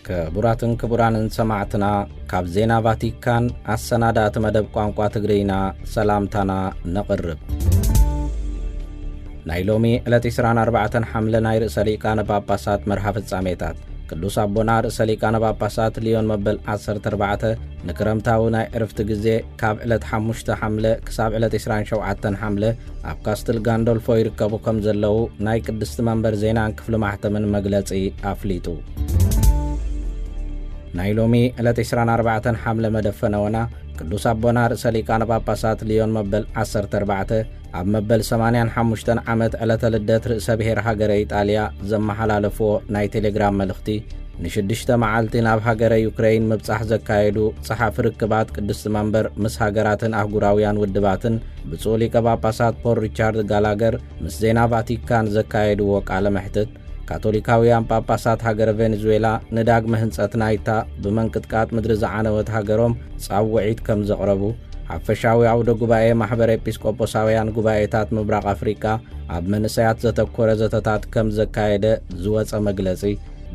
ክቡራትን ክቡራንን ሰማዕትና፣ ካብ ዜና ቫቲካን ኣሰናዳእቲ መደብ ቋንቋ ትግርይና ሰላምታና ነቕርብ። ናይ ሎሚ ዕለት ዕስራን ኣርባዕተን ሓምለ ናይ ርእሰ ሊቃነ ጳጳሳት መርሃ ፍጻሜታት። ቅዱስ ኣቦና ርእሰ ሊቃነ ጳጳሳት ሊዮን መበል ዓሰርተ ኣርባዕተ ንክረምታዊ ናይ ዕርፍቲ ግዜ ካብ ዕለት ሓሙሽተ ሓምለ ክሳብ ዕለት ዕስራን ሸውዓተን ሓምለ ኣብ ካስትል ጋንዶልፎ ይርከቡ ከም ዘለዉ ናይ ቅድስቲ መንበር ዜናን ክፍሊ ማሕተምን መግለጺ ኣፍሊጡ። ናይ ሎሚ ዕለት ዕስራን ኣርባዕተን ሓምለ መደብ ፈነወና ቅዱስ ኣቦና ርእሰ ሊቃነ ጳጳሳት ሊዮን መበል ዓሰርተ ኣርባዕተ ኣብ መበል ሰማንያን ሓሙሽተን ዓመት ዕለተ ልደት ርእሰ ብሔር ሃገረ ኢጣልያ ዘመሓላለፍዎ ናይ ቴሌግራም መልእኽቲ፣ ንሽዱሽተ መዓልቲ ናብ ሃገረ ዩክረይን ምብጻሕ ዘካየዱ ጸሓፊ ርክባት ቅድስቲ መንበር ምስ ሃገራትን ኣህጉራውያን ውድባትን ብፁዕ ሊቀ ጳጳሳት ፖል ሪቻርድ ጋላገር ምስ ዜና ቫቲካን ዘካየድዎ ቃለ መሕትት፣ ካቶሊካውያን ጳጳሳት ሃገረ ቬኔዙዌላ ንዳግመ ህንጸት ናይታ ብመንቅጥቃጥ ምድሪ ዝዓነወት ሃገሮም ጻውዒት ከም ዘቕረቡ፣ ሓፈሻዊ ኣውደ ጉባኤ ማሕበር ኤጲስቆጶሳውያን ጉባኤታት ምብራቕ ኣፍሪቃ ኣብ መንእሰያት ዘተኮረ ዘተታት ከም ዘካየደ ዝወጸ መግለጺ፣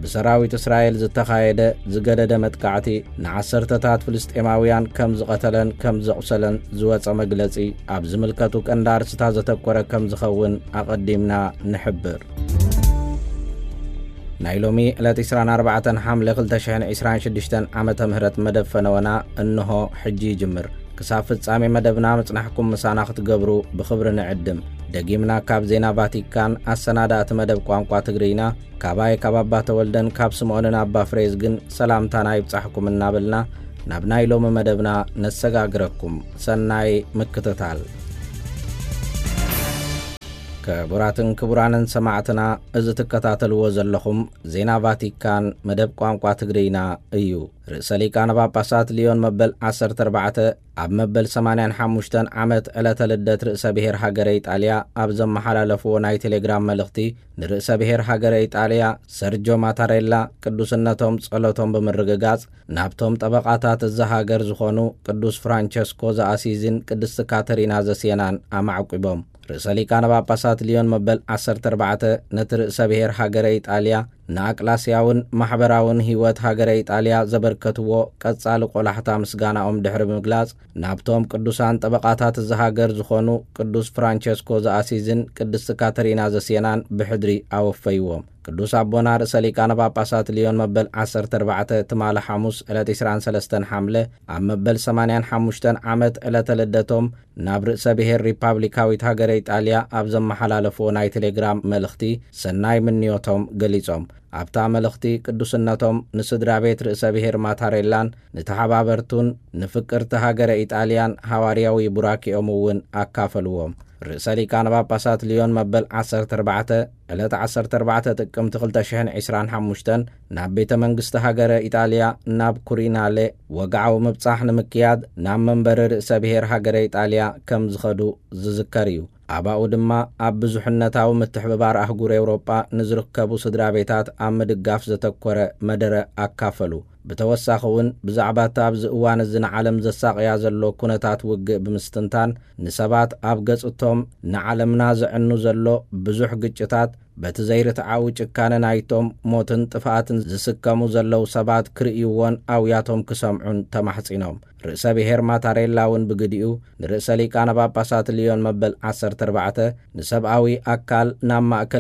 ብሰራዊት እስራኤል ዝተኻየደ ዝገደደ መጥቃዕቲ ንዓሰርተታት ፍልስጤማውያን ከም ዝቐተለን ከም ዘቑሰለን ዝወጸ መግለጺ፣ ኣብ ዝምልከቱ ቀንዲ ኣርስታት ዘተኮረ ከም ዝኸውን ኣቐዲምና ንሕብር። ናይ ሎሚ ዕለት ዕስራን ኣርባዕተን ሓምለ ክልተ ሽሕን ዕስራን ሽዱሽተን ዓመተ ምህረት መደብ ፈነወና እንሆ ሕጂ ይጅምር። ክሳብ ፍጻሜ መደብና ምጽናሕኩም ምሳና ክትገብሩ ብኽብሪ ንዕድም። ደጊምና ካብ ዜና ቫቲካን ኣሰናዳእቲ መደብ ቋንቋ ትግርይና፣ ካባይ ካብ ኣባ ተወልደን ካብ ስምዖንን ኣባ ፍሬዝግን ሰላምታና ይብጻሕኩም እናበልና፣ ናብ ናይ ሎሚ መደብና ነሰጋግረኩም። ሰናይ ምክትታል። ክቡራትን ክቡራንን ሰማዕትና፣ እዚ ትከታተልዎ ዘለኹም ዜና ቫቲካን መደብ ቋንቋ ትግርይና እዩ። ርእሰ ሊቃነ ጳጳሳት ሊዮን መበል ዓሰርተ ኣርባዕተ ኣብ መበል ሰማንያን ሓሙሽተን ዓመት ዕለተ ልደት ርእሰ ብሔር ሃገረ ኢጣልያ ኣብ ዘመሓላለፍዎ ናይ ቴሌግራም መልእኽቲ፣ ንርእሰ ብሔር ሃገረ ኢጣልያ ሰርጆ ማታሬላ ቅዱስነቶም ጸሎቶም ብምርግጋጽ፣ ናብቶም ጠበቓታት እዛ ሃገር ዝኾኑ ቅዱስ ፍራንቸስኮ ዘኣሲዝን ቅድስቲ ካተሪና ዘሴናን ኣማዕቂቦም። ርእሰ ሊቃነ ጳጳሳት ሊዮን መበል ዓሰርተ ኣርባዕተ ነቲ ርእሰ ብሔር ሃገረ ኢጣልያ ንኣቅላስያውን ማሕበራውን ህይወት ሃገረ ኢጣልያ ዘበርከትዎ ቀጻሊ ቆላሕታ ምስጋናኦም ድሕሪ ብምግላጽ፣ ናብቶም ቅዱሳን ጠበቓታት እዛ ሃገር ዝኾኑ ቅዱስ ፍራንቸስኮ ዘኣሲዝን ቅድስቲ ካተሪና ዘሴናን ብሕድሪ ኣወፈይዎም። ቅዱስ ኣቦና ርእሰ ሊቃነ ጳጳሳት ሊዮን መበል ዓሰርተ ኣርባዕተ ትማሊ ሓሙስ ዕለት ዕስራን ሰለስተን ሓምለ ኣብ መበል ሰማንያን ሓሙሽተን ዓመት ዕለተ ልደቶም ናብ ርእሰ ብሔር ሪፓብሊካዊት ሃገረ ኢጣልያ ኣብ ዘመሓላለፍዎ ናይ ቴሌግራም መልእኽቲ ሰናይ ምንዮቶም ገሊጾም። ኣብታ መልእኽቲ ቅዱስነቶም ንስድራ ቤት ርእሰ ብሔር ማታሬላን ንተሓባበርቱን ንፍቅርቲ ሃገረ ኢጣልያን ሃዋርያዊ ቡራኬኦም እውን ኣካፈልዎም። ርእሰ ሊቃነ ጳጳሳት ሊዮን መበል ዓሰርተ ኣርባዕተ ዕለት ዓሰርተ ኣርባዕተ ጥቅምቲ ክልተ ሽሕን ዕስራን ሓሙሽተን ናብ ቤተ መንግስቲ ሃገረ ኢጣልያ ናብ ኩሪናሌ ወግዓዊ ምብጻሕ ንምክያድ ናብ መንበሪ ርእሰ ብሔር ሃገረ ኢጣልያ ከም ዝኸዱ ዝዝከር እዩ። ኣባኡ ድማ ኣብ ብዙሕነታዊ ምትሕብባር ኣህጉር ኤውሮጳ ንዝርከቡ ስድራ ቤታት ኣብ ምድጋፍ ዘተኮረ መደረ ኣካፈሉ። ብተወሳኺ እውን ብዛዕባ እቲ ኣብዚ እዋን እዚ ንዓለም ዘሳቕያ ዘሎ ኩነታት ውግእ ብምስትንታን፣ ንሰባት ኣብ ገጽ እቶም ንዓለምና ዘዕኑ ዘሎ ብዙሕ ግጭታት፣ በቲ ዘይርትዓዊ ጭካነ ናይቶም ሞትን ጥፍኣትን ዝስከሙ ዘለዉ ሰባት ክርእይዎን ኣውያቶም ክሰምዑን ተማሕጺኖም። ርእሰ ብሔር ማታሬላ እውን ብግዲኡ ንርእሰ ሊቃነ ጳጳሳት ሊዮን መበል ዓሰርተ ኣርባዕተ ንሰብኣዊ ኣካል ናብ ማእከል